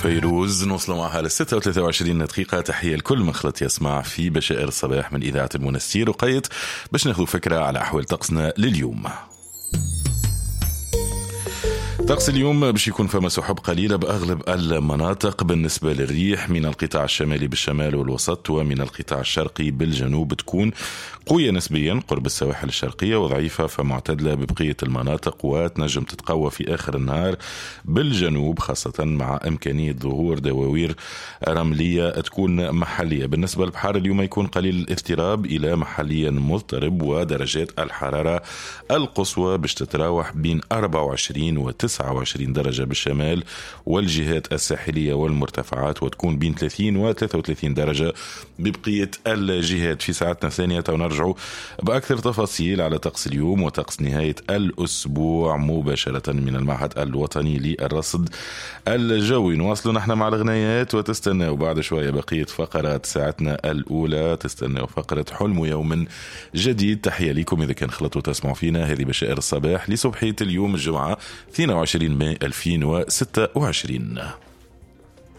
فيروز. نوصلوا معها ل 6:23 دقيقة. تحية لكل من خلط يسمع في بشائر الصباح من إذاعة المنستير، وقيت باش ناخذ فكرة على أحوال طقسنا لليوم. طقس اليوم باش يكون فما سحب قليلة بأغلب المناطق. بالنسبة للريح من القطاع الشمالي بالشمال والوسط ومن القطاع الشرقي بالجنوب تكون قوية نسبيا قرب السواحل الشرقية وضعيفة فمعتدلة ببقية المناطق، وتنجم تتقوى في آخر النهار بالجنوب خاصة مع إمكانية ظهور دواوير رملية تكون محلية. بالنسبة للبحر اليوم يكون قليل الاضطراب إلى محليا مضطرب، ودرجات الحرارة القصوى باش تتراوح بين 24 و 29 درجة بالشمال والجهات الساحلية والمرتفعات، وتكون بين 30 و 33 درجة ببقية الجهات. في ساعتنا الثانية ونرجع بأكثر تفاصيل على طقس اليوم وطقس نهاية الأسبوع مباشرة من المعهد الوطني للرصد الجوي. نواصل نحن مع الغنايات وتستناو بعد شوية بقية فقرات ساعتنا الأولى، تستناو فقرة حلم يوم جديد. تحية لكم إذا كان خلطوا تسمعوا فينا، هذه بشائر الصباح لصبحية اليوم الجمعة 22 ماي 2026.